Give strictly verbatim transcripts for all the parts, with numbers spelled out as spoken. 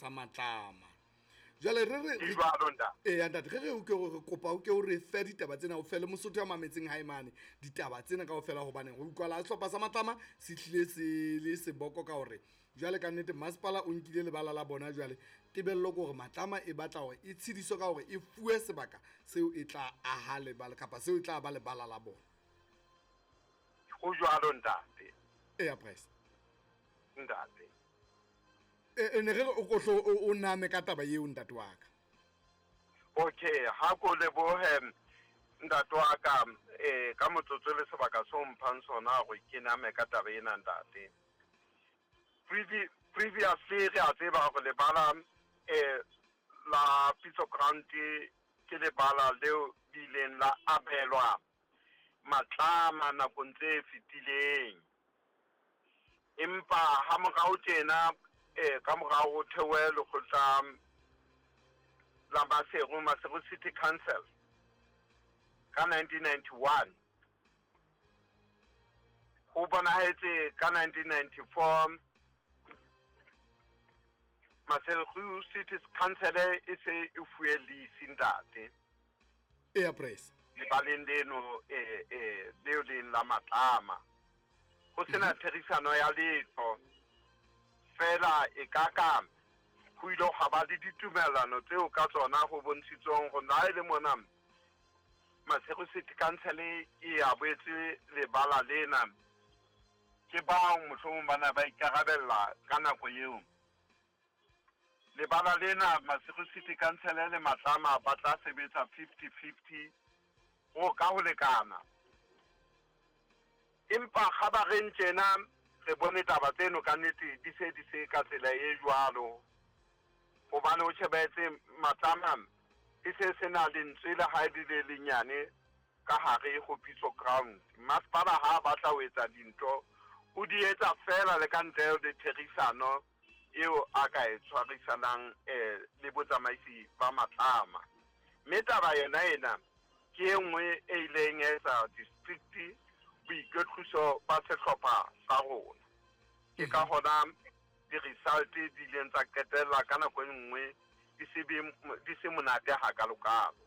sa Matlama. Jwale re re Ke jwalo, ntate. Eya ntate, re re o ke re kopa o ke o re fe ditaba tsena, o fe le Mosotho ya mametseng hae mane ditaba tsena kaofela, hobane ho utlwala sehlopha sa Matlama se hlile se le seboko ka hore jwale ka nnete masepala o nkile lebala la bona. Jwale tebello ke hore Matlama e batla hore e tshediswe ka hore e fuwe sebaka seo e tla aha lebala kapa seo e tla ba lebala la bona. Ho jwalo, ntate. Eya press. Ntate. E ne re re o ko hlo o o name ka taba eo, ntate wa ka. Okay, ha ko lebohe, ntate wa ka, eh ka motsotso le sebaka so mphang sona hore ke name ka taba ena, ntate. Previ previously re a tseba hore lebala eh la Pitso Ground ke lebala leo le ileng la abelwa Matlama nakong tse fetileng, empa ha morao tjena, eh ka morao ho thewe lekgotla la Maseru, Maseru City Council ka nineteen ninety-one, ho bonahetse ka nineteen ninety-four Maseru City Council e se e fuwe lease, ntate. Eya press. Lebaleng leno eh eh leo leng la Matlama ho sena therisano ya letho fela, e ka ka ho ile ha ba le ditumellano tseo ka tsona ho bontshitsweng hore na e le mona Maseru City Council e a boetse lebala lena ke bao mohlomong ba na ba ikarabella ka nako eo. Lebala lena, Maseru City Council le Matlama ba tla sebetsa fifty fifty ho ka ho lekana. Empa kgabareng tjena re bone taba tseno ka nnete di se di se ka tsela e jwalo, hobane o shebetse Matlama e se sena lentswe le ha e le lenyane ka hare ho Pitso Ground. Masepala ha batla ho etsa dintho, o di etsa fela le ka ntle le therisano eo a ka e tshwarisanang eh le botsamaisi ba Matlama. Mme taba yona ena ke e nngwe e ileng ya etsa district boikwetliso ba sehlopha sa rona. Ke ka hona di-result di ileng tsa qetella ka nako e nngwe di se be di se monate hakalokalo.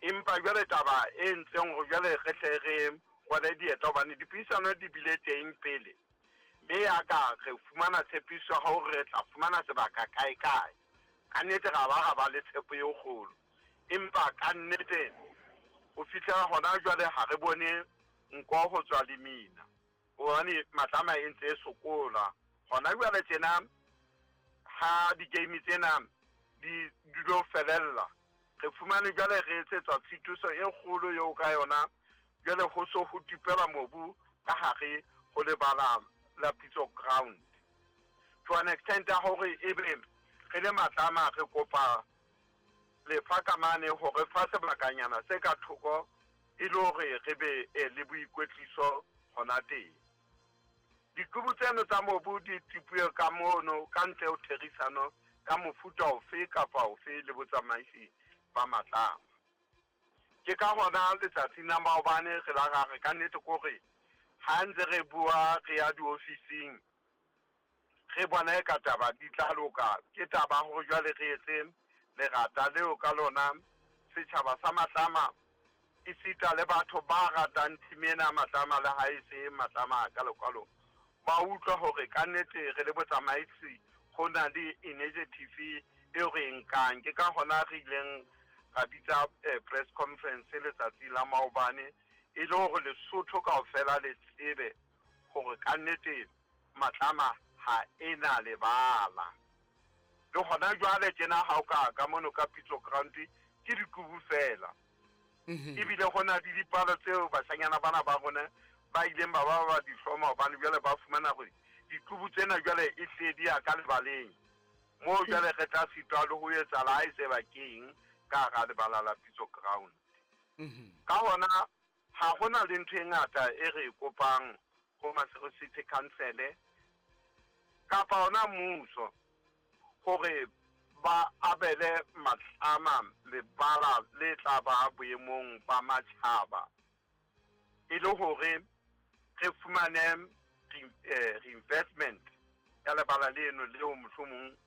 Empa jwale taba e entseng hore jwale re hle re rwale dieta, hobane dipuisano di bile teng pele, mme ya ka re fumana tshepiso ya hore re tla fumana sebaka kae kae, ka nnete ra ba ra ba le tshepo e kgolo, empa ka nnete ho fihlela hona jwale ha re bone nko ho tswa lemina, hobane Matlama e ntse e sokola hona jwale tjena. Ha di-game tsena di di lo felella, re fumane jwale re etsetswa tshitiso e kgolo eo ka yona jwale ho so ho tipelwa mobu ka hare ho lebala la Pitso Ground to an extent ya hore ebe re le Matlama re kopa lefa ka mane hore fa sebakanyana se ka thoko e le hore re be eh, le boikwetliso hona teng. Diqubu tseno tsa mobu di tipuwe ka mono ka ntle ho therisano ka mofuta ofe kapa ofe le botsamaisi ba Matlama. Ke ka hona letsatsing la maobane re la ra re ka nnete kore ha ntse re bua re ya diofising, re bona e ka taba di tla loka. Ke taba hore jwale re etse lerata leo ka lona setjhaba sa Matlama esita le batho ba ratang team ena ya Matlama, le ha e se Matlama hakalo-kalo, ba utlwa hore ka nnete re le botsamaisi ho na le initiative eo re e nkang. Ke ka hona re ileng ra bitsa eh, press conference letsatsi la maobane, e le hore Lesotho kaofela le tsebe hore ka nnete Matlama ha ena lebala. Le hona jwale tjena ha o ka ka mono ka Pitso Ground ke dikubu fela, ebile ho na le dipalo tseo bashanyana bana ba rona ba ileng ba ba ba di hloma, hobane jwale ba fumana hore dikubu tsena jwale e hle di ya ka lebaleng moo. Jwale re tla sitwa le ho etsa la ha e se bakeng ka hara lebala la Pitso Ground. Ka hona ha hona le ntho e ngata e re e kopang ho Maseru City Council kapa hona mmuso hore ba abele Matlama lebala le tla ba boemong ba matjhaba, e le hore re fumane re- eh, reinvestment ya lebala leno leo mohlomong.